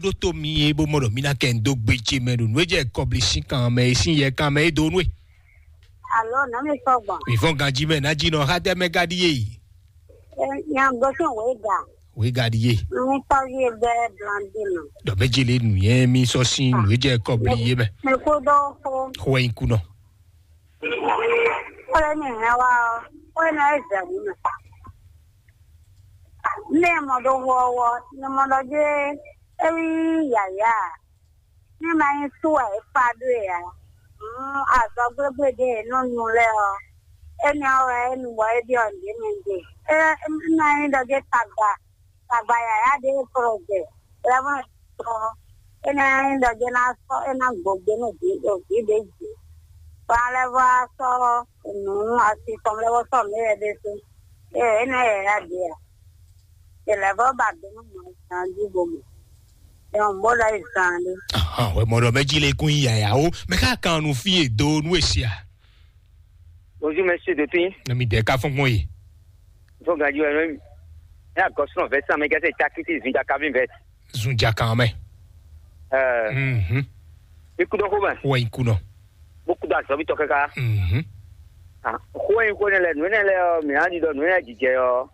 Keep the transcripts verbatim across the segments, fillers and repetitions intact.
Ɖó tó mi é bó mɔ ɖɔ mí ná kɛ ń dó gbe ce mɛ ɖo nǔ e jɛ kɔbli sín kan mɛ e sín yɛ kan mɛ é dó nú e. Alo, nɔ mi sɔgbɔn. Mi fɔn ganji mɛ ná jí nɔ xá tɛ mɛ ka ɖi yé yi. Nya gosɔn wé ga. Wé ga ɖi yé. Mi tɔ yé bɛ blandi nɔ. Dɔ mɛ jele nu yɛ mi sɔ sin nǔ e jɛ kɔbli yé mɛ. Mi kú dɔ xo. Xo yin ku nɔ. Kɔlɛ mi hɛn wa ɔ, kɔlɛ mi ayé zɛ wú mɛ. Mɛ mɔ ɖo wɔ wɔ, mi mɔ ɖɔ jɛ é wi yaya. Ní ma nyí sú wɛ é kpa ɖó e ǎ. Azɔ̌ gblégblédé e nɔ nu lɛ́ɛ ɔ́, énɛ́ ɔ́ wɛ é nu bɔ é ɖyɔ́ nǔɖé mɛ ɖe. É ná nyí ɖɔ jɛ́n tagba, tagba yǎyá ɖé e kplɔ́n jɛ, lɛ́vɔ́ tɔn, énɛ́ nyí ɖɔ jɛ́n ná sɔ́ é ná gbɔn gbe nú vǐ ɖo vǐ ɖě jí. Bɔ alɛ́vɔ́ á sɔ́ nǔ asi tɔn lɛ́vɔ́ sɔ́ nǔ éyɛ́ ɖésú. Ée énɛ́ yǎyá ɖě ǎ. È lɛ̌ vɔ́ ba do nú mɔ zan jí bo mɔ. Nyɔn bó lɔ yi zan ɖé. Ahan, wɛ mɔ ɖɔ mɛ jí lé kún yí yaya o. Mɛ ká kan nu fí e do nú e sia. Bonjour, monsieur Depin. Na mi dɛ ka fɔn gbɔn yi. Fo gaji wɛ mɛ. Ya gɔsɔn vɛ san mɛ gɛsɛ cakiti zun ja kavi vɛ. Zun ja kan mɛ. Euh, Mhm. Ikú dɔ ko mɛ. Wɛ ikú nɔ. Beaucoup d'azɔbi tɔ kaka. Mhm. Ah, ko yin ko ne lɛ, nu ne lɛ, mi na di dɔ nu ne jijɛ ɔ.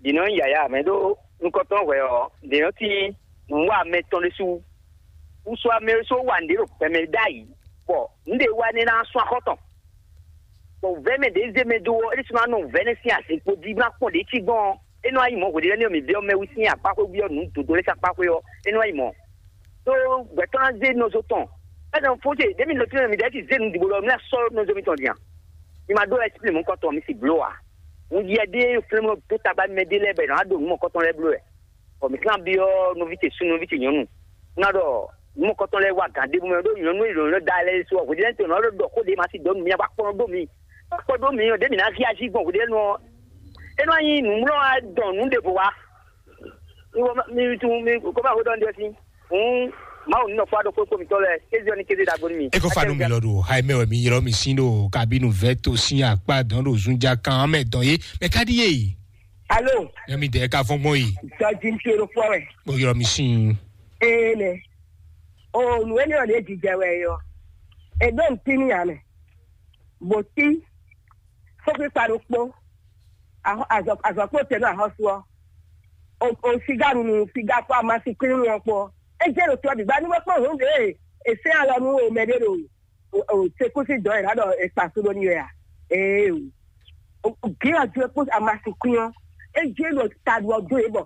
Ɖi nɔ nyí yǎyá mɛ ɖó nukɔntɔn hwɛ ɔ́, ɖě nɔ tín nǔwanmɛ tɔn ɖésú. Wúsú amɛ ɖésú wa nǔɖé ɖo gbɛmɛ ɖ'ayǐ, bɔ nǔɖé wa nɛ́ ná sún axɔ́ tɔn. Bɔ vɛ̌ mɛ ɖě zé mɛ dó ɔ́, é ɖésú ná nɔ vɛ̌ nɛ́ sín azǐnkpo jí bó ná kpɔ́n ɖě cí gbɔn ɔ́, é nɔ wá nyí mɔ̌ hweɖéɖé nɛ́ ɔ́, mǐ byɔ́ mɛ wú sín akpá xwé byɔ́ nǔ dǒdó lɛ́ɛ sín akpá xwé ɔ́, é nɔ wá nyí mɔ̌. Ɖó gbɛ̌tɔ́ ná zé nɔzo tɔn. Ɛ́nɔ fó ce ɖěmi nɔ tínmɛ mǐ ɖɛ́ ti zé nǔ ɖibo ɖɔ mǐ ná sɔ́ nɔzo mitɔn din a? Mi ma ɖó ɛsipli mɔ̌kɔtɔn mi si bló ǎ. Un yɛ ɖé flɛ́mɔ dó tagba mɛ ɖé lɛ́ɛ bɔ è nǎ ɖo nǔ mɔ̌kɔtɔn lɛ́ɛ bló wɛ. Bɔ mǐ kán byɔ́ nɔví ce súnnu, nɔví ce nyɔ̌nu. Un ná ɖɔ nǔ mɔ̌kɔtɔn lɛ́ɛ wá gǎn ɖěbǔ mɛ ɖó nyɔ̌nu e nyɔ̌nu da lɛ́ɛ su ɔ, hweɖénu tɔn nɔ ɖɔ xó ɖé ma si dɔ̌ nǔ mi wá kpɔ́n ɖó mi. Wá kpɔ́n ɖó mi ɔ́, ɖě mǐ ná hí ají gbɔn hweɖénu ɔ́. É nɔ nyí nǔmlɔ́ wá dɔn nǔ ɖěvo wá. Mi wɔ mi tunun mi kó bá xwedɔ ndé sí. Hǔn Mawu nínɔ fún aɖókpókpó mitɔ́ lɛ́ɛ, kéze ɔ́ ní kéze ɖagbo nú mi. E ko fa nú mi lɔ ɖo ha e mɛ wɛ mi ylɔ́ mi sín ɖo kabinu vɛ́ to sín akpá dɔn ɖo zunja kan mɛ dɔn yé mɛ ka ɖíe. Alo, Nyɛ mi dɛ ka fɔn gbɔn yi. Jɔji ń ṣe lóko rẹ̀. Mo ylɔ́ mi sín. Ee nɛ. O nù énɛ́ ɔ́ ɖě jijɛ wɛ yɔ. È ɖó ntí ní ame. Bò tí fókpíkpa ɖokpó. Azɔkpó tɛ́ nú axɔ́sú ɔ́. O siga nunu siga kpó amasi kpínu ɔ́ kpó. É jẹ́ ɖo tɔ́ bǐ gba ní wọ́n kpó hǔn ɖě è sɛ́n alɔ nú o mɛ ɖé ɖo sekúsi dɔn ɛ lǎ ɖɔ è kpa só ɖó ní wɛ a? Ee o. Gělá jó kpó amasi kpín ɔ́. É jẹ́ ɖo ta ɖu ɔ́ dó yě bɔ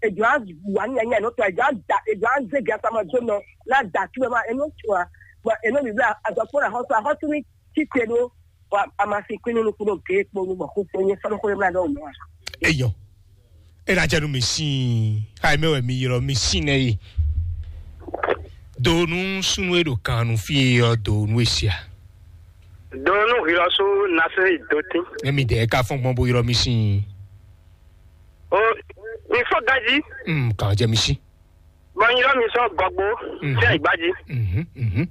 èjò á wà ní nyanya nɔ tɔ èjò á da èjò á zé gɛ sama jó nɔ ná da tú ɛ má ɛ nɔ tún a. Bɔ ɛ nɔ bǐ bla azɔkpó axɔ́sú axɔ́sú ní títí ɛ ɖó. Wa amasi kpín nínú kúrò gé kponu bɔ kó kpó nyé sɔ́nù kúrò mìíràn dɔwọ́ mọ́. Eyɔ. Ena jɛ nu mi sin. Ayi mɛ wɛ mi yrɔ mi sin nɛ yi. Do nu sunu e ɖo kan nu fi yɔ do nu esia. Do nu hilɔsu nase dotin. Ne mi dɛ ka fɔn gbɔn bo yrɔ mi sin. O mi fɔ gaji. Mm, kan jɛ mi sin. Bɔ nyí mi sɔ gɔgbo. Mhm. Fia igbaji. Mhm, mhm.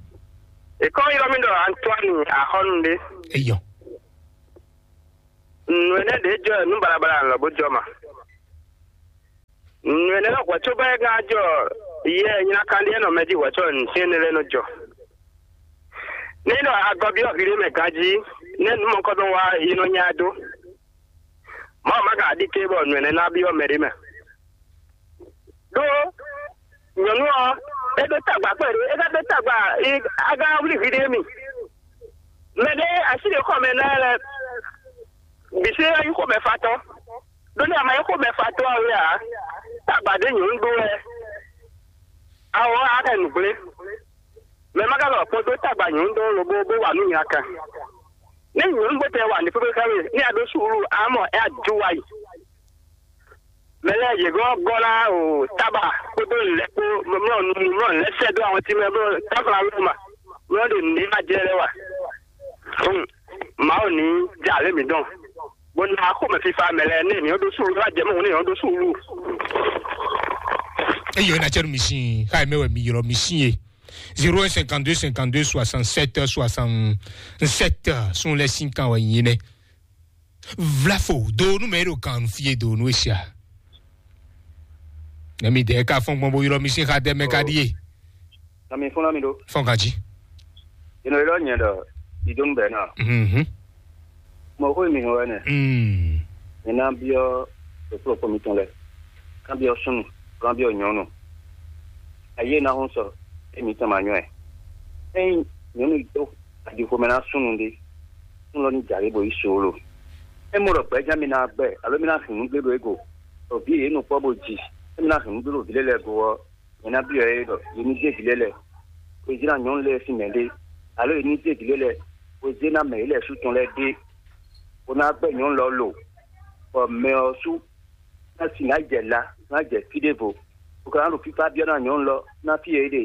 Ekɔ yrɔ mi ɖɔ Antoine Axɔnu ɖe. Eyɔ. Nǔ énɛ́ ɖě jɔ nú balabala lɔ bó jɔ ma. Nǔ énɛ́ lɔ hwɛ̌ cóbɔ é gán jɔ yɛ nyina kan ɖíe nɔ mɛ jí hwɛ̌ cɔ nǔ sín énɛ́ lɛ́ɛ nɔ jɔ. Ní ɖɔ agɔbí ɔ́ hílí mɛ ganjí, nɛ́ nǔ mɔ̌kɔ́tɔn wá yi nɔ nya ɛ dó. Mawu má ka ɖi ké bɔ nǔ énɛ́ ná byɔ́ mɛ ɖé mɛ. Ɖó nyɔ̌nu ɔ́, é ɖó tagba kpɛɖé, é ka ɖó tagba, aga wlí hwi ɖé mi. Mɛ ɖé así ɖě xɔ mɛ ná lɛ bǐ sí é nyí xomɛfatɔ́. Ɖó ní a ma nyí xomɛfatɔ́ ǎ wɛ ǎ, tagba ɖé nyɔ̌nu ɖó wɛ. Awɔ á kɛ nǔgblé. Mɛ ma ka lɔ kpɔ́n dó tagba nyɔ̌nu ɖó lobo bó wa nǔ nya kan. Ní nyɔ̌nu bó tɛ wa ní pépé xá we, ní a ɖó suúlu, a mɔ é a jó wa yi. Mɛ lɛ́ɛ yě gɔ́ gɔ́ ná o tába kpódó lɛ̌ kpó mlɔ́ nu mlɔ́ lɛ́ sɛ́ dó àwọn tí mɛ bó táfla wé ma mlɔ́ ɖo nǔɖé ma jɛ lɛ́ wa. Fún Mawu ní jɛ alě mǐ dɔn. Bó ná xomɛ fífá mɛ lɛ́ɛ ní ènìyàn ɖó súlu wá jɛ mɔ̌ ní ènìyàn ɖó súlu. Eyɔ ena tsɛnu mi sin xayi mɛ wɛ mi ylɔ mi sin ye. Zéro un cinquante-deux cinquante-deux soixante-sept soixante-sept sun lɛ sin kan wɛ nyi nɛ. Vlafo do nu mɛ ɖo kan fie do nu esia. Nɛmi dɛ ka fɔn gbɔn bo ylɔ mi sín xa dɛ mɛ ka ɖíe. Nɔ mi fún nɔ mi ɖó. Fɔn ganji. Inɔ ylɔ nyɛ ɖɔ idonu bɛ na. Mhm. Mɔ xó mi hɔn wɛ nɛ. Mm. Mi na biɔ ɖokplɔkpɔ mitɔn lɛ. Kan biɔ sunu, kan biɔ nyɔnu. Ayi na hɔn sɔ, e mi tɔn ma nyɔ ɛ. Eyin nyɔnu do adixo mɛ na sunu ɖe. Sunu lɔ ni jari bo yi solo. E mo ɖɔ gbɛjá mi na gbɛ, alo mi na hin nugbe ɖo ego. Obi e nu kpɔ bo ji. E mi na hin nugbe ɖo vi lɛ lɛ go ɔ. Nyɛ ná byɔ́ yě ɖɔ yě ní zé vǐ lɛ́ɛ lɛ́ɛ, bó zé ná nyɔ̌nu lɛ́ɛ sín mɛ ɖé, alo yě ní zé vǐ lɛ́ɛ lɛ́ɛ, bó zé ná mɛ yě lɛ́ɛ sú tɔn lɛ́ɛ ɖé, bó ná gbɛ́ nyɔ̌nu lɔ lo, bɔ mɛ ɔ́ sú ná si ná jɛ la, ná jɛ fí ɖěvo, bó ka ná ɖo fífá byɔ́ ná nyɔ̌nu lɔ ná fí e é ɖe.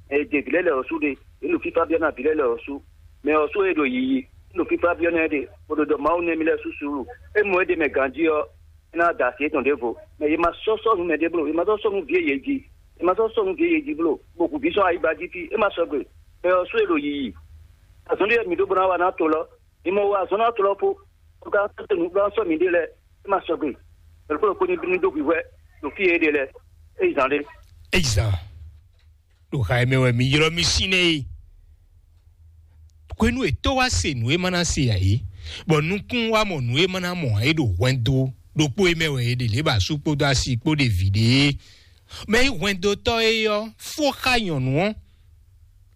Mɛ e zé vǐ lɛ́ɛ lɛ́ɛ ɔ́ sú ɖe, yě ɖo fífá byɔ́ ná vǐ lɛ́ɛ lɛ́ɛ ɔ́ sú. Mɛ ɔ́ sú e ɖo yiyi, é ɖo fífá byɔ́ ná ɛ ɖe, bó ɖo ɖɔ Mawu nɛ́ mì lɛ́ɛ sú suúlu. É mɔ é ɖe mɛ ganjí ɔ́, é ná da asi étɔn ɖěvo, mɛ yě ma sɔ́ sɔ́ nǔ mɛ ɖé bló, yě ma sɔ́ sɔ́ nú vǐ e yě ji, yě ma sɔ́ sɔ́ nú vǐ e yě ji bló, bó hu vǐ sɔ́ ayigba jí fí, é ma sɔgbe. Mɛ ɔ́ sú e ɖo yiyi. Azɔn ɖé mi ɖó bó ná wa ná to lɔ, mi mɔ wa azɔn ná to lɔ po, bó ka sɔ́ nǔ bó ná sɔ́ mi ɖé lɛ́ɛ, é ma sɔgbe. Mɛ ɖokpó ɖokpó ní bínú dó hwihwɛ ɖo fí e é ɖe lɛ́ɛ, é yi zán ɖé. Eyi zan ɖo xa e mɛ wɛ mi ylɔ́ mi sín nɛ́ e. Hwenu e tó wá se nǔ e ma ná se ǎ é, bɔ nukún wá mɔ nǔ e ma ná mɔ ǎ é ɖo hwɛndo ɖokpó e mɛ wɛ è ɖe lě bɔ asú kpódó asi kpó ɖe vǐ ɖe é. Mɛ e nyí hwɛndotɔ́ é ɔ́ fó xá nyɔ̌nu ɔ́,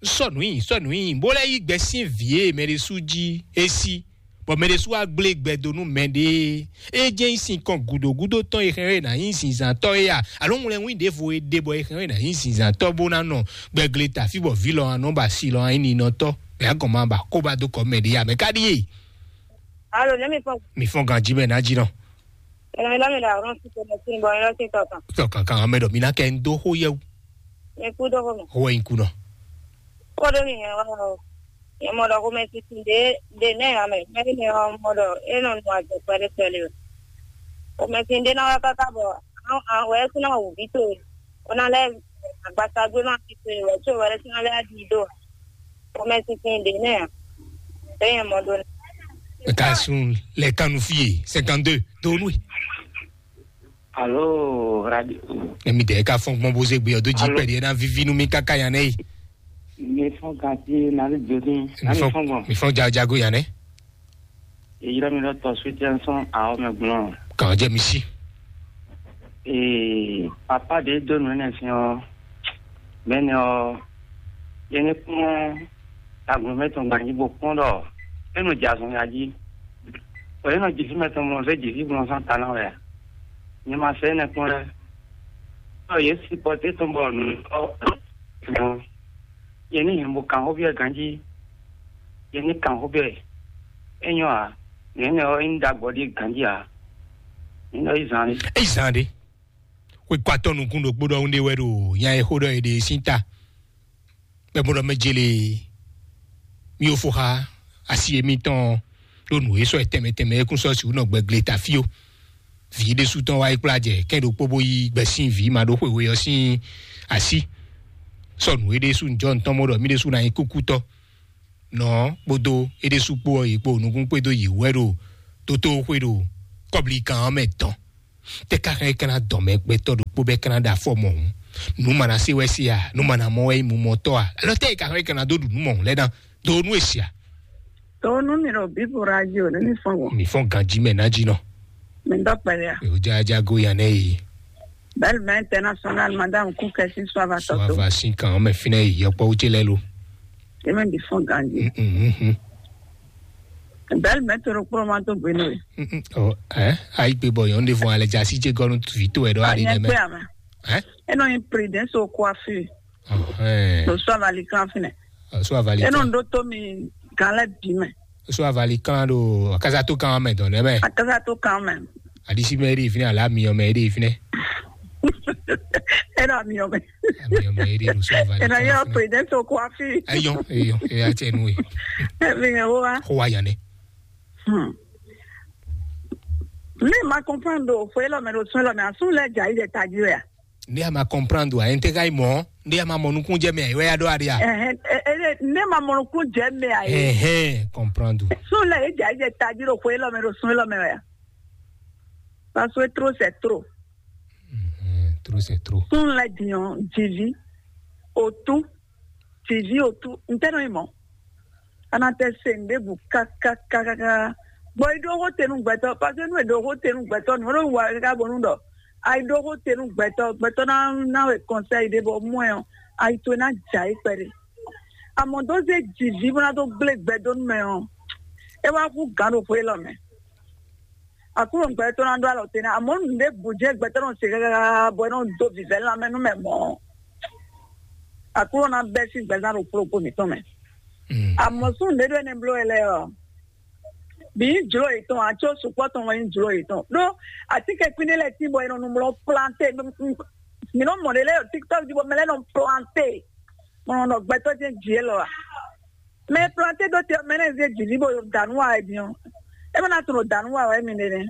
sɔ́ nǔ nyi, sɔ́ nǔ nyi, bó lɛ́ yí gbɛ sín vǐ e mɛ ɖé sú jí é sí, bɔ mɛ ɖé sú wá gblé gbɛ dó nú mɛ ɖé. É jɛ́n nyí sinkɔn gǔdo gúdo tɔn e xɛn é ná nyí zinzǎntɔ́ é a? Alo ŋlɛ́nwín ɖěvo e ɖe bɔ è hɛn ɔ́ è nǎ nyí zinzǎntɔ́ bó ná nɔ gbɛgle ta fí bɔ vǐ lɔ ɔ́ nɔ ba si lɔ ɔ́ nyí ninɔtɔ́, mɛ agɔn ma ba kó ba dó kɔ mɛ ɖě ǎ, mɛ ka ɖíe? Alo, ne mi fɔ. Mi fɔn ganjí mɛ ná jí nɔ. Ɛnɛ mi lɔ mi ɖo ahɔn si tɔmɛ si bɔ mi lɔ si tɔ kan. Tɔ kankan mɛ ɖɔ mi ná kɛ ń dó xó yɛ wú. Mi kú dó xó mɛ. Xó wɛ nyí kú nɔ. Kó dó mi hɛn wá o. Yɛ mɔ ɖɔ xó mɛ titi ɖé ɖé nɛ ame mɛ ɖé mɛ ɔ mɔ ɖɔ é nɔ nu azɔ̌ kpɛɖé kpɛɖé o. Xó mɛ titi ɖé ná wá káká bɔ wɛ é kún ná wǔ ví towe. Ó ná lɛ́ agbasagbé má fi towe wɛ có wɛ é kún ná lɛ́ ɖi dó. Xó mɛ titi ɖé nɛ ɔ. É nyɛ mɔ ɖó nɛ. Ka sun lɛ kanu fie cinquante-deux donu. Alo radio. Emi dɛ ka fɔn gbɔn bo ze gbe ɔdo ji. Alo. Pɛdi ena vivi nu mi kaka yan nɛ yi. Mi fɔn gati na le jodin. Mi fɔn gbɔn. Mi fɔn jago yan nɛ. Eyira mi lɔ tɔ suitiɛn sɔn awɔ mɛ gblɔn. Kàn jẹ mi si. Ee, papa de do nu ne fi ɔ. Mɛ ne ɔ, yɛ ne kpɔn agun mɛ tɔn gbanji bo kpɔn dɔ e nɔ jɛ azɔn ya ji. Ɔ e nɔ jisi mɛ tɔn mɔ fɛ jisi gbɔn sɔn ta na wɛ. Nyɛ ma sɛ ne kpɔn lɛ. Ɔ ye si pɔte tɔn bɔ nu ɔ. Yɛ ni hɛn bo kan xó biɛ ganji. Yɛ ni kan xó biɛ. E nyɔ a. Nɛ ne ɔ in da gbɔ di ganji a. Ni nɔ yi zan ni. Eyi zan ɖe. Xwe kɔ atɔ́ nukún ɖokpó ɖɔhun ɖé wɛ ɖo nya e xó ɖɔ è ɖe sín ta. Bɛ́ bó ɖɔ mɛ jele mí ó fó xá asi émítɔn ɖó nǔ e sɔ́ ɛ tɛnmɛ tɛnmɛ é kún sɔ́ sixú nɔ gbɛ gle ta fí ó. Vǐ ɖésú tɔn wá yi kplá jɛ kɛ́n ɖokpó bó yí gbɛ sín vǐ ma ɖó xweywe ɔ́ sín así. Sɔ́ nǔ é ɖésú njɔ́ ntɔ́n mɔ ɖɔ mí ɖésú ná nyí kúkútɔ́. Nɔ kpódó é ɖésú kpó ɔ́, yě kpo nukún kpédó yě wɛ ɖo tótóxwé ɖo kɔ́blíkan ɔ́ mɛ dɔn. Tɛ ka hɛn kana dɔn mɛ gbɛtɔ́ ɖokpó bɛ kana ɖo afɔ mɔhun? Nú mana se wɛ se a? Nú mana mɔ wɛ mu mɔtɔ́ a? Alɔ tɛ ka hɛn kana dó ɖu nú mɔhun lɛ ná? Do nú esi a? To nu mi ɖo Bible radio ne mi fɔn wɔ. Mi fɔn ganji mɛ ná jí nɔ. Mi dɔ kpɛlɛ a? Mi o jaja go yan nɛ yi. Belle mɛ international madame Kukɛsi Suava tɔtɔ. Suava sin kan mɛ finɛ yi yɔkpɔ wuce lɛ lo. Eme bi fɔn ganji. Mhm. Belle mɛ to ɖokpó ma to gbenu ye. Mhm. Ɔ ɛ ayi gbe bɔ yɔn de fɔn alɛ jasi ce gɔnu vi to ɛ dɔ ali nɛ mɛ. Anyɛ kpe ame. Ɛ? Enɔ yin prudence au coiffure. Ɔhɛn. Lo so avali kan finɛ. Ɔ, so avali kan. Enɔ ndo to mi gan lɛ bi mɛ. So avali kan ɖo akasato kan mɛ dɔn nɛ mɛ. Akasato kan mɛ. Adisi mɛ ɖi finɛ ala miyɔ mɛ ɖi finɛ. Enɔ miyɔ mɛ. Miyɔ mɛ ɖi ɖo so avali kan. Enɔ yɔ prudence au coiffure. Eyɔ eyɔ eya tse nu ye. Ebi yɛ wo wa. Xɔ wa yan ne. Hmm. Ne ma comprendre o fo elɔ mɛ ɖo sun elɔ mɛ asun lɛ dza yi ɖe taji wɛ a? Ne a ma comprendre a, ente ka yi mɔ, ne a ma mɔ nukun jɛ mɛ, wɛ ya ɖo aɖe a? Ɛhɛn, e- e- ne ma mɔ nukun jɛ mɛ a ye? Ɛhɛn, comprendre. Sun lɛ yi dza yi ɖe taji ɖo fo elɔ mɛ ɖo sun elɔ mɛ wɛ a? Parce que trop c'est trop. Mhm. Trop, c'est trop. Súnnu lɛ́ɛ din ɔ́, jǐví, otú, jǐví, otú, ntɛ́ nɔ nyí mɔ̌? A nɔ te se nǔ ɖěbǔ káká káká káká, bɔ é ɖó xó te nú gbɛtɔ́, parce que nú è ɖó xó te nú gbɛtɔ́, nǔ e ɖo wa káká bónú ɖɔ a yi ɖó xó te nú gbɛtɔ́, gbɛtɔ́ ná ná we kɔnsɛ́yi ɖé bɔ mɔ ɛ ɔ́, ayi towe ná jɛ ayǐ kpɛɖé. Amɔ̌ dó zé jǐví bó ná dó gblé gbɛ dó nú mɛ ɔ́, é wá hú gǎn ɖo xwé élɔ́ mɛ. Aklúnɔ gbɛtɔ́ ná ɖó alɔ te ná, amɔ̌ nǔɖé bǔ jɛ gbɛtɔ́ nɔ se káká bɔ é nɔ dó vǐvɛ́ lanmɛ nú mɛ mɔ̌. Aklúnɔ ná bɛ́ sín gbɛzán ɖo kplɔ́kpó mǐtɔn mɛ. Amɔ̌ sú nǔɖé ɖó énɛ́ bló wɛ lɛ́ɛ ɔ́, bǐ nyí jlǒ yětɔn ǎ, có sukpɔ́ tɔn wɛ nyí jlǒ yětɔn. Ɖó atínkɛnkwín ɖé lɛ́ɛ tín bɔ è nɔ nu mlɔ planté. Mǐ nɔ mɔ ɖě lɛ́ɛ ɖo TikTok jí bɔ mɛ lɛ́ɛ nɔ planté. Mɔ nɔ gbɛtɔ́ jɛ́n jǐ élɔ́ a? Mɛ e planté ɖó te ɔ́, mɛ nɛ́ zé jǐví bó da nǔ wa wɛ din ɔ́, é má ná tunwun ɖo da nǔ wa wɛ mi ɖe nɛ́.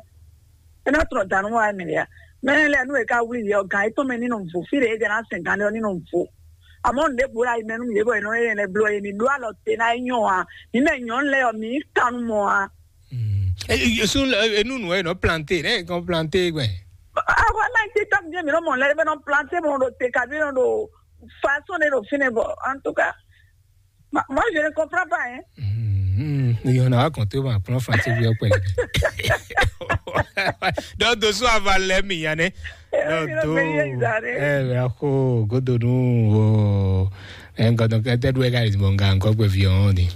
É ná tunwun ɖo da nǔ wa wɛ mi ɖe a? Mɛ nɛ́ lɛ́ɛ nú è ka wlí yě ɔ́, gǎn yětɔn mɛ ní nɔ vo, fí ɖě é jɛ ná sɛn gǎn ɖé ɔ́ ní nɔ vo. Amɔ̌ nǔɖé bǔ ɖo ayi mɛ nú yě bɔ è nɔ é nɛ́ bló é ní ɖó alɔ te ná é nyɔ́ a? Mǐ mɛ nyɔ̌nu lɛ́ɛ ɔ́, mǐ nyí kannumɔ a? Sun enunu ɛ nɔ planté, ne kɔn planté gbɛ. Awa na ti tɔm jɛ mi nɔ mɔ lɛ bɛ nɔ planté mɔ ɖo te kabi nɔ ɖo façon de ɖo fine bɔ en tout cas moi je ne comprends pas hein. Yɔn na wa kɔn tó ma kplɔn français bi ɔkpɛ. Donc doso ava lɛ mi ya ne. Donc to ɛ bɛ ko godonu o. Ɛ nkɔ dɔn kɛ tɛ du ɛ ka yi mɔ nga nkɔ gbɛ fi ɔn di.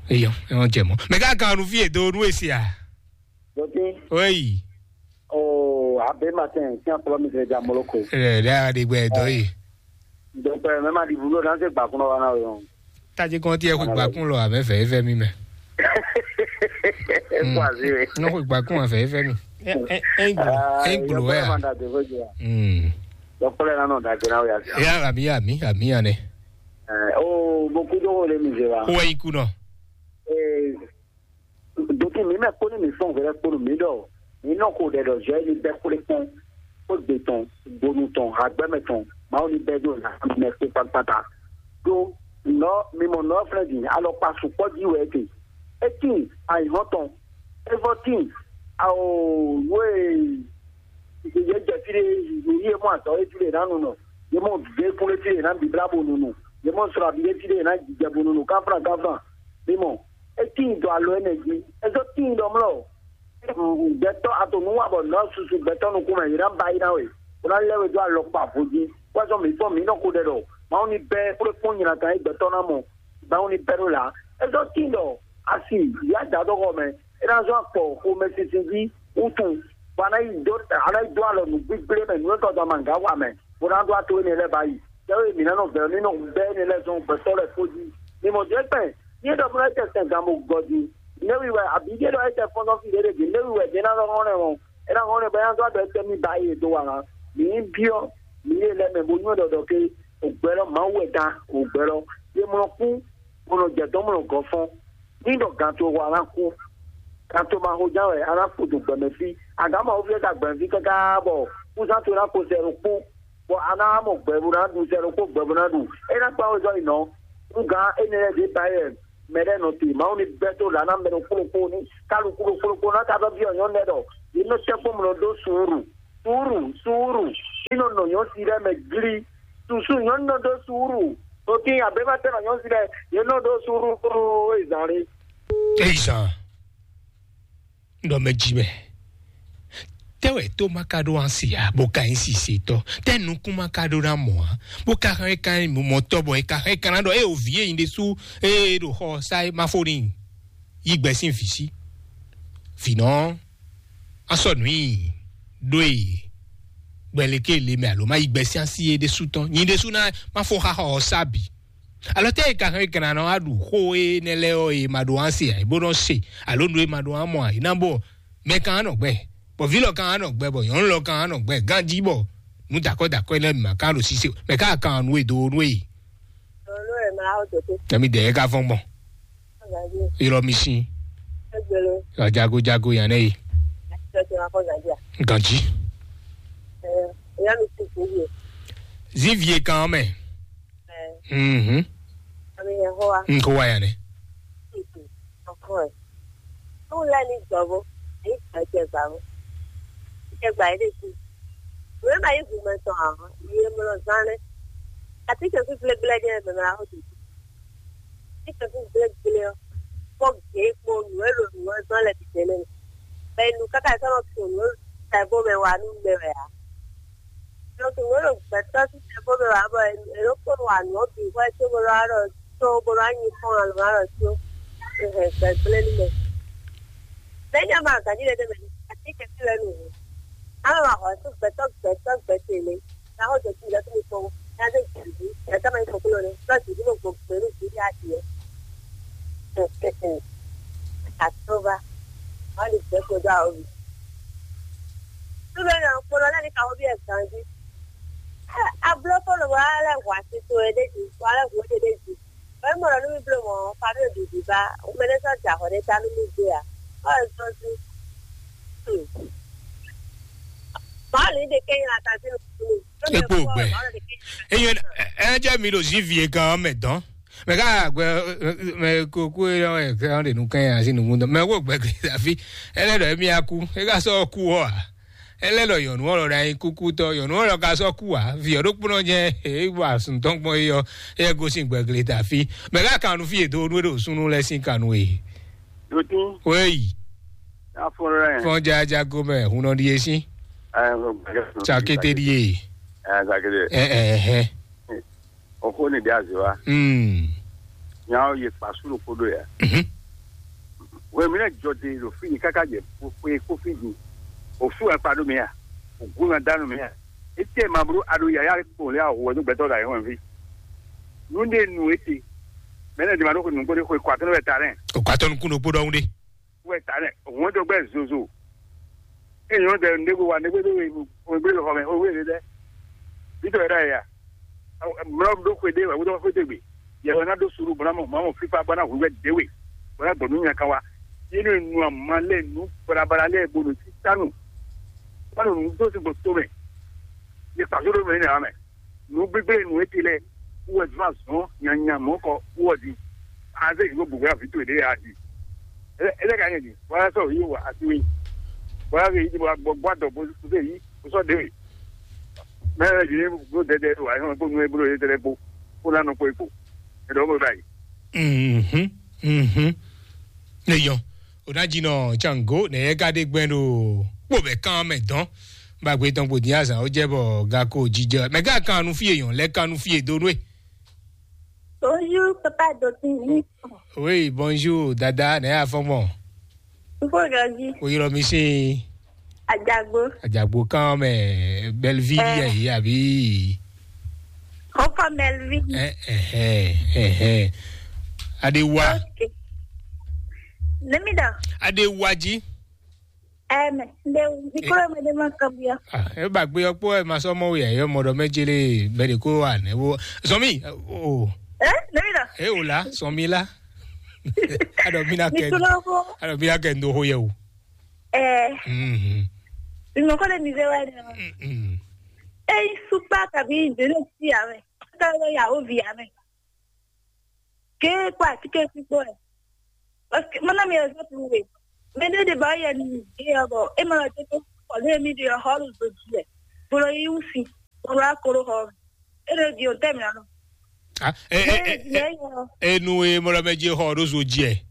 Eyɔ ɛ ɔn jɛ mɔ mɛ ka kan nu fi edo nu esi a. Dɔtí. Oyi. Oo abe matin kí n kplɔ mi sɛ ja moloko. Ɛ dɛ a de gbɛ dɔ yi. Donc ɛ mɛ ma di bulo na se gbakun wa na o yɔn. Tadzi kɔn tiɛ xwe gbakun lɔ abɛ fɛ efɛ mi mɛ. Ɛ kó azi we. Nɔ xwe gbakun afɛ efɛ mi. Ɛ ɛ ɛ gbolo ɛ gbolo ɛ ya. Dɔkpɛlɛ na nɔ dagbe na o ya. Ya ami ami ami ya nɛ. Ɛ o mo kudo wo le mi ze wa. Ko wɛ yi ku nɔ. Ee, donc mi mɛ kpó ní mi fɔn hwɛlɛ kpó ní mi ɖɔ mi nɔ ko ɖɛ ɖɔ zɔ yi bɛ kplé kpɔn kó gbe tɔn gbonu tɔn agbɛmɛ tɔn mawu ní bɛ ɖo na mi mɛ kpé kpakpata ɖo nɔ mi mɔ nɔ fɛnɛ di alɔkpa sukpɔ ji wɛ te eti ayi hɔn tɔn evɔ ti awo wo e ye jɛ fi ɖe ye mɔ azɔ e fi ɖe na nu nɔ ye mɔ ve kplé fi ɖe na bibla bo nu nu ye mɔ srɔ abi ɖe fi ɖe na jijɛ bo nu nu kafra kafra mi mɔ Etíin dɔ alɔ énɛ́ jí, é zɔ́ tíin ɖɔ mlɔ́. Gbɛtɔ́ a to nǔ wa bɔ nɔ̌ susu gbɛtɔ́ nukún mɛ, yě ná ba yí ná we, bó ná lɛ́ we dó alɔkpa vo jí. Wá zɔ́n mǐ fɔ́n mǐ nɔ ko ɖɛ ɖɔ Mawu ní bɛ́ xwlé kpɔ́n nyi natan e gbɛtɔ́ ná mɔ, Mawu ní bɛ́ ɖó là. É zɔ́ tíin ɖɔ asi yǎ da dó xɔ mɛ, é ná zɔ́n akpɔ xomɛsinsin jí wútu, bɔ a ná yi dó a ná yi dó alɔ nǔgbígblé mɛ, nǔ e tɔ́ dɔn amǎga wa mɛ, bó ná dó ato énɛ́ lɛ́ɛ ba yi. Tɛ́wé mǐ ná nɔ vɛ̌ ní nɔ bɛ́ énɛ́ lɛ́ɛ zɔn gbɛtɔ́ lɛ́ɛ kpó jí. Mi mɔ jɛ́ kpɛn, ní é ɖɔ bó ná jɛ sɛn gan bó gɔ́ jí. Nɛ̌ wi wɛ abǐ ɖé ɖɔ é jɛ fɔ́n nɔ fí ɖé ɖé jí? Nɛ̌ wi wɛ jɛ́ ná nɔ hɔn nɛ ɔ́? É ná hɔn nɛ bɔ é ná zɔ́ ɖɔ étɛ́ mì ba é dó wa ná. Mǐ nyí byɔ́, mǐ yé lɛ́ mɛ bó nywɛ́ ɖɔ ɖɔ ké ògbɛ́ lɔ Mawu wɛ dán, ògbɛ́ lɔ. Yě mlɔ kú, bó nɔ jɛ dɔ̌n mlɔ gɔ́ fɔ́n. Ní ɖɔ gan towe xo a ná kú. Gan towe ma xo ján wɛ a ná kpo dun gbɛmɛ fí. Agǎn Mawu fí é ka gbɛmɛ fí káká bɔ kúzán towe ná ko sɛ ɖokpó. Bɔ a ná mɔ gbɛ bó ná ɖu sɛ ɖokpó gbɛ bó ná ɖu. É ná kpán wezɔ́ yi nɔ. Nú gǎn énɛ́ lɛ́ɛ ɖě ba yɛ mɛ lɛ́ɛ nɔ te. Mawu ní bɛ́ tó lǎ ná mɛ ɖokpó ɖokpó ní kálukú ɖokpó ɖokpó ná ka ɖɔ byɔ́ nyɔ̌nu lɛ́ɛ ɖɔ yě nɔ tɛ́ kpɔ́n mlɔ dó suúru. Suúru, suúru. Ní nɔ nɔ nyɔ̌nu si lɛ́ɛ mɛ glí. Susu nyɔ̌nu nɔ dó suúru. Ɖo kí abě ma tɛ́ nɔ nyɔ̌nu si lɛ́ɛ yě nɔ dó suúru. Ezǎn lé. Ezǎn. Nɔ mɛ jí mɛ. Tɛ́ wɛ tó ma ka ɖó ansi a bó ka nyí sisetɔ? Tɛ́ nukún ma ka ɖó ná mɔ a bó ka hɛn ka nyí mɔtɔ bɔ é ka hɛn ka ná ɖɔ é o vǐ e nyi ɖésú e ɖo xɔ sa é ma fó n'i. Yí gbɛ sín vǐ sí. Vǐnɔ a sɔ nǔ i ɖó e gbɛ léké le mɛ alo ma yí gbɛ sín asi é ɖésú tɔn nyi ɖésú ná ma fó xa xɔ ɔ sa bǐ. Alɔ tɛ́ e ka hɛn kana nɔ wá ɖu xó énɛ́ lɛ́ɛ ɔ́ e ma ɖó wá se ǎ, bó nɔ se alo nǔ e ma ɖó wá mɔ ǎ, é ná bɔ mɛ kan á nɔ gbɛ, bɔ vǐ lɔ kan á nɔ gbɛ, bɔ nyɔ̌nu lɔ kan á nɔ gbɛ ganjí, bɔ nǔ dakɔ́ dakɔ́ énɛ́ ma ka ɖo sise mɛ ka kan nǔ e dó nú e. Nɔ ɛ ma xɔ tete. Tɛmí dɛ ɛ ka fɔn gbɔn. Ylɔ mi si. Egbelo. Jago jago yan ne yi. Tete ma kɔ gadia. Ganjí. Ɛ ya mi si ko ye. Zivie kan mɛ. Ɛ. Mhm. Ami ya ho wa. Nko wa ya ne. Ọkọ ẹ. Ó lẹ ní gbọ̀bọ. Èyí kan jẹ gbà ó. Jẹ gbà yìí lè kú. Nǔ e ma nyí hǔmɛ tɔn ǎ, yi e mlɔ zán lɛ́ɛ. Atínkɛnkwín gblégblé jɛ́n mɛ mɛ ǎ xótó. Atínkɛnkwín gblégblé ɔ́, kpɔ́ gěgbo nǔ e ɖo nǔ ɔ́ zɔ́n lɛ́ɛ bǐ tɛnmɛ mɛ. Bɔ è nu káká è sɔ́ nɔ to nǔ e ta ɛ bó mɛ wa nú mɛ wɛ ǎ. Nɔ to nǔ e ɖo gbɛ̌tɔ́ sín tɛ bó mɛ wa bɔ è nɔ kpɔ́n wa nǔ ɔ́ bǐ xwɛ có bó nɔ wá ɖɔ có bó nɔ wá nyi kpɔ́n alɔ wá ɖɔ có. È hɛn gbɛ̌gblé nú mɛ. Lɛ̌ nya ma ganjí lɛ́ɛ tɛ́ mɛ, atínkɛnkwín lɛ́ɛ nu hǔn. Ná mɛ ma hɔn sú gbɛtɔ́ gbɛtɔ́ gbɛtɛ́ lé. Ná xɔ jɛ kí lɛ́ kí kpɔ́n. Ná dé jìbí, lɛ́ ká ma nyí kɔkúlɔ lé. Ná jìbí mo gbɔ gbɛ ní jìbí á jì ɛ. Àtúbà. Wọ́n lè gbẹ́ kó dó àwọn mi. Súnmọ́ ní àwọn kpɔ́nɔ lẹ́ni ka wọ́n bí ẹ̀ ganjí. Abló kó lè wá lẹ́ wà sí tó ẹ dé jì, wà lẹ́ wò ó dé dé jì. Wɛ́ mɔ nú mì bló mɔ̌, Fabio ɖiɖi ba, mɛ ɖé sɔ́ jɛ ahɔ̌ ɖé ta nú mì gbé ǎ. Ɔ́, é sɔ́ sú. Mɔ̌ lǐ ɖe kɛ́ nyi la tají nukúnmí. Ekpo gbɛ. Eyo, ɛ jẹ́ mi ɖo zivi e kan mɛ dɔn. Mɛ ká gbɛ mɛ kókó e ɔ́ ɛ kɛ ɔ́ ɖe nu kɛn asi nukún dɔn. Mɛ wo gbɛ gbɛ afi. Ɛ lɛ ɖɔ emi akú. E ka sɔ kú ɔ a. Ɛ lɛ ɖɔ yɔnu ɔlɔ ɖe anyi kúkú tɔ. Yɔnu ɔlɔ ka sɔ kú a. Vi ɔ ɖokpónɔ jɛ e wa sun tɔn gbɔn e ɔ. E gosin gbɛgle ta fi. Mɛ ká kanu fi e do nu e ɖo sunu lɛ sin kanu e. Dotin, Wei. Afɔlɛ. Fɔn jaja gomɛ. Hunɔ ɖi e sin. Ɛ, Tsakete ɖi e. Ɛ, Tsakete. Ɛ ɛ ɛ. Ɔxó ni ɖe azɔ wa. Mm. Nyawo ye kpasu ɖo koɖo ya. Mhm. Wɛ mi lɛ jɔ de ɖo fi ni kaka jɛ kpo kpo fi di. O su akpa ɖo mi ya. O gun na danu mi ya. Ete ma bro aɖo yaya kpo le awo wɛ do gbɛtɔ da yɛ wɛ vi. Nu de nu ete. Mɛ ne di ma ɖo ko nugbo de ko kɔ atɔnɔ bɛ ta lɛ. O kɔ atɔnɔ kun ɖokpó ɖɔhun ɖe. Wɛ ta lɛ. Wɛn dɔ gbɛ zozo. Eyi wọn dɛ ndé ko wa ndé gbé dó wɛ gbé lɔ xɔ mɛ o wɛ dɛ. Bi tɔ yɛ dɛ ya. Mlɔ ɖo xwe ɖe wɛ wodɔ xwe ɖe gbe. Yɛ wɛ na ɖo suru bɔ na mɔ mɔ fifa bɔ na hu wɛ ɖe we. Bɔ na gbɔ nu nya kan wa. Yé nu nu ama lɛ nu balabala lɛ bo nu titanu. Ba nu nu do si gbɔ to mɛ. Yé kpa so ɖo mɛ ne amɛ. Nǔ gbígbé nǔ e ti lɛ́ɛ wú wɛ zɔ́n azɔ̌n nyanya mɔ̌kɔ wú wɔ din. Azé yǐ bó gbogbo avǐ towe ɖě a di. Étɛ́ ka nyɛ din? Bó ná sɔ́ yǐ wɔ asi wé. Bó ná zé yǐ din bó ná gbɔ gbɔ adɔ bó zé yǐ bó sɔ́ ɖě we. Mɛ ɛ yǐ bó dɛdɛ wà nyɔ kó nú e bló yě tɛlɛ kpó kó ná nɔ kpó e kpo. È ɖɔ bó báyìí. Mhm, mhm. Ne yɔ. O ná jí nɔ tsango nɛ yɛ ka ɖe gbɛn ɖo kpó bɛ kán mɛ dɔn. Ba gbe tɔn kpo dín azan ó jẹ́ bɔ ga ko jijɛ. Mɛ gá kan nu fie yɔn lɛ kan nu fie do nú e. Bonjour, papa Dotin. Oui, bonjour, dada, nɛ yà fɔn mɔ. Fofo Gazi. O yɔrɔ mi se. Ajagbo. Ajagbo kan mɛ Belleville yɛ yi abi. Fofo Melvin. Eh eh eh eh. Adewa. Ok. Let me down. Adewaji. Ɛmɛ, nde mikro mɛ de ma kabia. Ah, e ba gbe yɔ kpɔ e ma sɔ mɔ ya yɔ mɔ dɔ mɛ jele bɛ de ko wa ne wo. Sɔmi. Oh. Eh, nde mi da. E o la, sɔmi la. Adɔ mi na kɛ. Mikro ko. Adɔ mi na kɛ ndo ho yɛ o. Eh. Mhm. Mi mɔ ko le mi ve wa de. Mhm. E supa kabi de ne si ame. Ka ya o vi ame. Ke kpa tike kpikpɔ ɛ. Parce que mana mi ɛzɔtu we. Mɛ ɖé ɖe ba yɛ ni ɖe ɔbɔ e ma ɖe to kɔlé mi ɖe hɔlu do dzi ɛ. Bolo yi wusi. Bolo akoro hɔ. E ɖe di o tɛ mi anɔ. Ah, eh, eh, eh, eh, enu e mɔlɔ mɛ dzi xɔ ɖo zo dzi ɛ.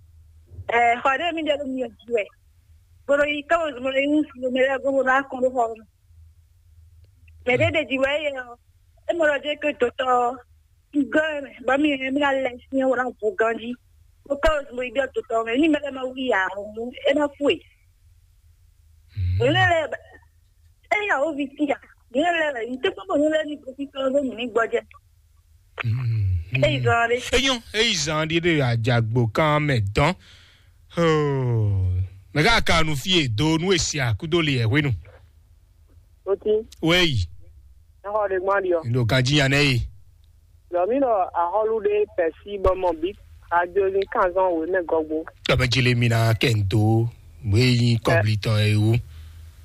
Eh, xɔ ɖe mi ɖe ɖo mi dzi ɛ. Bolo yi kawo bolo yi wusi mɛ ɖe go bolo akoro hɔ. Mɛ ɖé ɖe dzi wɛ yɛ ɔ. E mɔlɔ dzi ke dotɔ. Gɔn mɛ, ba mi mi na lɛ si wala vo ganji. O ka o mo ibi to tɔ mɛ, ni mɛ ma wi ya mo, e na fue. Ni lɛ e ya o vi ti ya. Ni lɛ ni te ko ni lɛ ni ko ti ko ni gbɔjɛ. E zan de. Eyan, e zan de de ajagbo kan mɛ dɔn. Oh. Mɛ ka kanu fie do nu esi akudo le e hwenu. Oti. Wei. Exɔ ɖe gbɔn ɖiɔ. Ndo ganji ya nɛ yi. Lɔ mi ɖɔ axɔlu ɖe pɛsi bɔ mɔ bi ajo ni kanzɔn wo ne gɔgbo. Tɔmɛ jile mi na kɛ n do. Wei yin kɔbli tɔn e wu.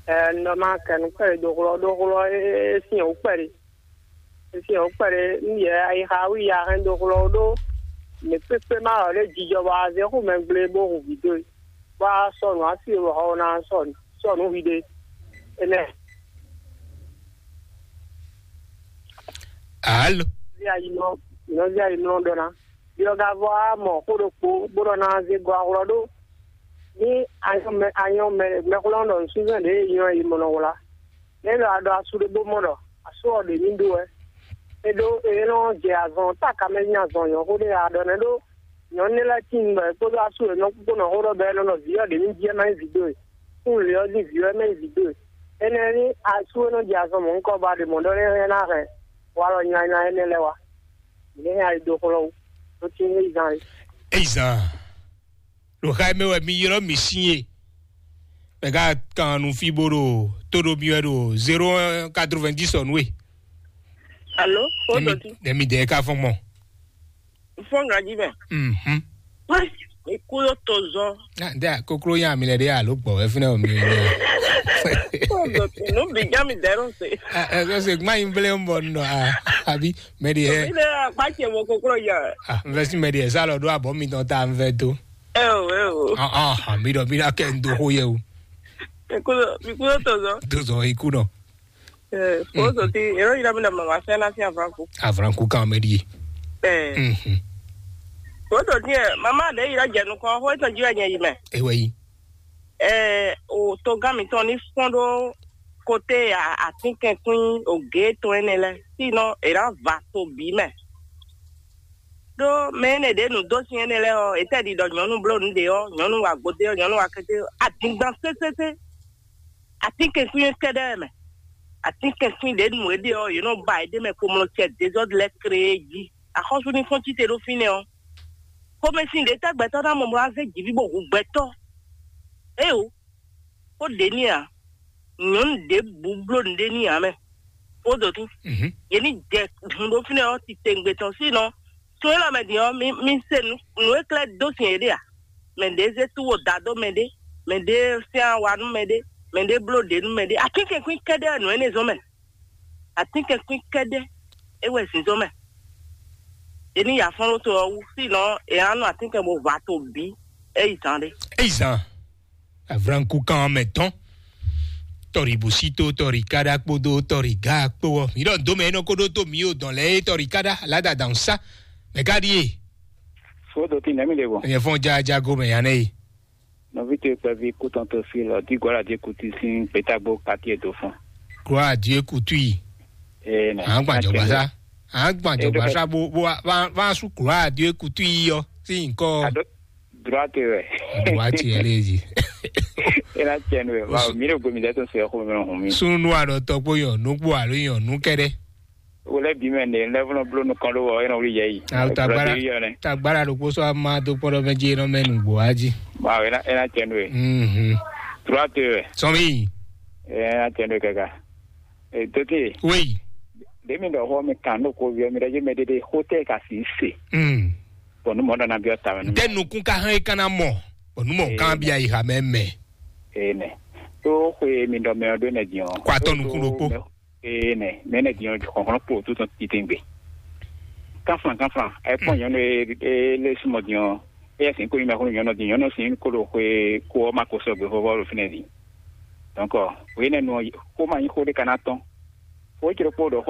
Ɛ nɔ ma kɛ nu kpɛ ɖe doxlɔ doxlɔ e sin o kpɛ ɖe. E sin o kpɛ ɖe n yɛ ayi xa wi ya hɛn doxlɔ ɖo. Mɛ kpekpe ma ɔ ɖe jijɔ bɔ azɛ xo mɛ gble bo hu vi do. Bɔ a sɔ nǔ asi e wɔ xɔ ná sɔ sɔ nǔ hwi ɖe. Enɛ. Alo. Nɔví ayimlɔ ɖɔ ná. Yɔgavɔ á mɔ xó ɖokpó bó ɖɔ ná zé gɔ ahwlɔ ɖó. Ní anyɔmɛ anyɔmɛ mɛxwlɔ́n ɖɔ nǔsúnzɛn ɖě e nyɔ yi mɔ nɔ wlá. Nɛ̌ ɖɔ a ɖɔ asú ɖé bó mɔ ɖɔ asú ɔ́ ɖě ní ɖó wɛ? É ɖó é nɔ jɛ azɔn táka mɛ nyí azɔn nyɔ̌xó ɖé a ɖɔ nɛ́ ɖó nyɔ̌nu lɛ́ɛ tíin bɔ è kpódó asú e nɔ kpókpó nɔ xó ɖɔ bɔ é nɔ ɖɔ vǐ ɔ́ ɖě ní jí ɛ má nyí vǐ dó e. Kún lě ɔ́ jí vǐ ɔ́ é má nyí vǐ dó e. Énɛ́ ní asú e nɔ jɛ azɔn mɔ̌hunkɔ ba ɖe mɔ̌ ɖɔ nɛ́ hɛn ná hɛn walɔ nylanyla énɛ́ lɛ́ɛ wá. Mǐ ní hɛn ayi dó xlɔ́ wú, ɖó tín é yi zán é. Eyi zan. Ɖo xa mɛ wɛ mi ylɔ́ mi sín e. Mɛ ka kan nu fí bó ɖo tó ɖo mi wɛ ɖo zéro un quatre-vingt-dix ɔ́ nú e. Alo, o Nɛmi dɔti. Nɛmi dɛ ka fɔn mɔ. Fɔn gaji mɛ. Mhm. Wɛ, mi kú ló to zɔ. Na de koklo nya mi lɛ de alo gbɔ wɛ fúnɛ o mi nya. Fɔn dɔti, nu bi ja mi dɛ ɖo se. Ɛ ɛ se gma yin ble mbɔ nɔ a abi mɛ di hɛ. Mi lɛ akpa cɛ mɔ koklo ya. Ah, n fɛ si mɛ di hɛ sa lɔ do abɔ mi tɔn ta n fɛ to. Ɛ o, ɛ o. Ah ah, mi dɔ mi na kɛ n do ko yɛ o. Mi kú ló, mi kú ló to zɔ. To zɔ iku nɔ. Ɛ, kóso tí èrò yìí lọ́mọdé màmá fẹ́ láti àfúránkù. Àfúránkù kan mɛ di. Ɛ, Mhm. Kóso tí ɛ màmá ɖe yìí lọ́jẹ̀ nukɔ xó ètò jí wɛ nyɛ yìí mɛ. Ewɛ yi. Ɛ, o togán mi tɔn ní fɔn ɖó kote àtínkɛnkwín ògé tɔn ɛnɛ lɛ sínɔ èrà va to bǐ mɛ. Ɖó mɛ énɛ́ ɖě nǔ dó sin énɛ́ lɛ́ɛ ɔ́, ètɛ́ ɖi ɖɔ nyɔ̌nu bló nǔ ɖě ɔ́, nyɔ̌nu wa gbodé ɔ́, nyɔ̌nu wa kété ɔ́, adingban sésésé. Atínkɛnkwín kɛ́ɖɛ́ mɛ. Atínkɛnkwín ɖě nu é ɖe ɔ́, yě nɔ ba yě ɖ'é mɛ kpomlɔ cɛ dezɔ́d lɛ́ɛ kree jí. Axɔ́sú ní fɔ́n cíte ɖó fínɛ́ ɔ́. Xomɛsin ɖě tɛ́ gbɛtɔ́ ná mɔ bó ná zé jǐví bó hu gbɛtɔ́? Éeǒ, xó ɖě ní ǎ. Nyɔ̌nu ɖěbǔ bló nǔɖé ní ǎ mɛ. Xó dǒtú. Mhm. Yě ní jɛ hun ɖó fínɛ́ ɔ́ titewungbe tɔn sínɔ. Sun élɔ́ mɛ din ɔ́, mi mi se nǔ nǔ e klɛ́ dó sin yěɖée a? Mɛ ɖě zé túwo da dó mɛ ɖé, mɛ ɖě syɛ́n awa nú mɛ ɖé, mɛ ɖě bló ɖě nú mɛ ɖé. Atínkɛnkwín kɛ́ɖɛ́ wɛ nǔ énɛ́ zɔ́n mɛ. Atínkɛnkwín kɛ́ɖɛ́ é wɛ zǐnzɔ́n mɛ. È ní ya fɔ́n ɖó to ɔ́ wú, sínɔ è nǎ nu atínkɛn bó hwa to bǐ é yi zǎn ɖé. Eyi zan avranku kan mɛ tɔn tɔri busito tɔri kada kpodo tɔri ga kpo ɔ mi ɖɔ dome enɔ ko ɖo to mi o dɔn lɛ e tɔri kada lada dan sa mɛ ka ɖi e. Fodo ti nɛmi de bɔ. Nyɛ fɔn ja jago mɛ ya nɛ yi. Nɔvi to kpɛvi kutɔn to fi lɔ di gɔla di kuti sin gbetagbo kati e do fɔn. Kura di e kutu yi. Ee nɛ. An gban jɔgba sa. An gban jɔgba sa bo bo wa wa su kura di e kutu yi yɔ si nkɔ. Droite wɛ. Droite yɛ lé zi. E na tiɲɛ nu wɛ. Wa mi ɖo gomi dɛ to se xo mi hun mi. Sunu nu anɔ tɔ kpo yɔ nu kpo alo yɔ nu kɛɖɛ. Wòlé bí mɛ ne lɛ́ fúnɔ bló nukɔn ɖó wɔ é nɔ wlí yɛ yi. Awo tagbára tagbára ɖokpó sɔ ama dó kpɔɖɔ mɛ jí é nɔ mɛ nugbo wá jí. Ma wɛ e na tiɲɛ nu wɛ. Mhm. Droite wɛ. Sɔmi. E na tiɲɛ nu wɛ kɛkɛ. Dókè. Wéyi. Ɖé mi ɖɔ xɔ mi kan ɖo ko viɔ mi ɖɔ dzi mɛ ɖeɖe xó tɛ ka si se. Bɔn nu mɔ ɖɔ na biɔ ta mɛ nu. Tɛ nukun ka hɛn kana mɔ bɔn nu mɔ kan bia yi ha mɛ mɛ. Ee nɛ. Tó xwe mi ɖɔ mɛ ɔ ɖó nɛ diɔ. Kó atɔ nukun ɖokpó. Ee nɛ mɛ nɛ diɔ xɔxlɔn kpo tó tɔn titengbe. Kanflan kanflan ɛ kpɔn nyɔnu e lé sumɔ diɔ. Eyɛ sin ko nyuma xó nyɔnu diɔ nyɔnu sin ko ɖo xwe ko ɔ ma ko sɔgbe vɔvɔ ɖo fínɛ di. Donc, o yénɛ́ nu ɔ́, xó ma nyí xó ɖé ka ná tɔ́n. Xó cé ɖokpó ɖɔ